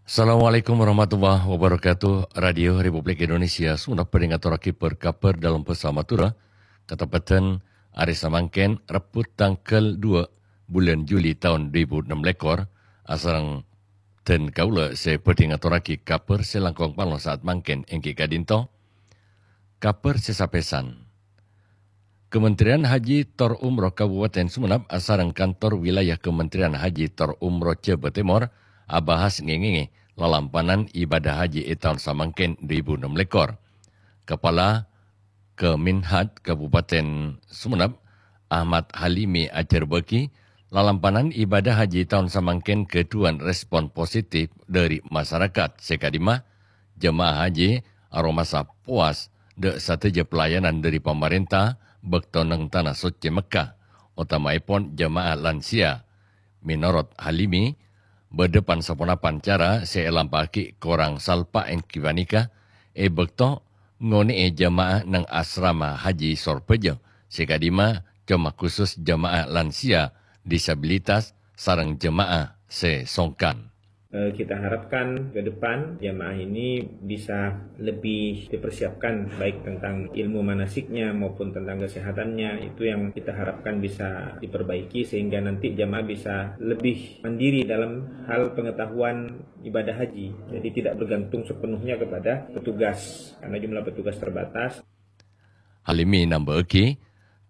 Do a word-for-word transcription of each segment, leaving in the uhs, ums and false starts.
Assalamualaikum warahmatullahi wabarakatuh. Radio Republik Indonesia Sumenep bhâdhi ngatorraghi bâr-kabhâr dâlem bhâsa Madhurâ. Kateppeddhân arè samangkèn, Rebbhu tangghâl dua bulân Juli taon dhu èbu ennem lèkor, asareng dân kaulâ sè bhâdhi ngatorraghi kabhâr sè langkong palo saat mangkèn èngghi ka'dinto. Kabhâr sè sapèsan. Kementerian Haji tor Umroh Kabupaten Sumenep asareng Kantor Wilayah Kementerian Haji tor Umroh Jhâbâ Tèmor abahas ngèngèngè lalampanan ibadah haji è taon samangkèn dhu èbu ennem lèkor. Kepala Kemenhaj Kabupaten Sumenep, Ahmad Halimi, ajhârbâghi, lalampanan ibadah haji taon samangkèn ghâdhuwân respon positif dhâri masarakat sè ka'dimma jemaah haji aromasa powas dhâ' sadhâjâ pelayanan dhâri pamarènta bâkto neng Tana Soccè Mekkah, otamaèpon jemaah lansia. Mènorot Halimi, bâdâ pan-saponapan cara sè èlampa'aghi korang salpa' èngghi panèka è bâkto ngonè'è jemaah neng asrama haji Sorbhâjâ, sè ka'dimma coma khusus jemaah lansia, disabilitas, sareng jemaah sè songkan. Eh, kita harapkan ke depan jamaah ini bisa lebih dipersiapkan, baik tentang ilmu manasiknya maupun tentang kesehatannya. Itu yang kita harapkan bisa diperbaiki, sehingga nanti jamaah bisa lebih mandiri dalam hal pengetahuan ibadah haji. Jadi, tidak bergantung sepenuhnya kepada petugas, karena jumlah petugas terbatas. Halimi nambâ'âghi,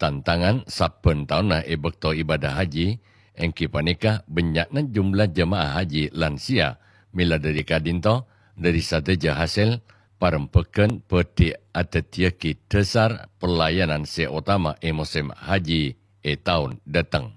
tantangan sabbhân taonna è bâkto ibadah haji, èngghi panèka bânnya'na jumlah jemaah haji lansia. Mèla dhâri ka'dinto, dhâri sadhâjâ hasèl parembhâghân bhâdhi adhâddhiyâghi dhâsar pelayanan sè otama è mosèm haji è taon dâteng.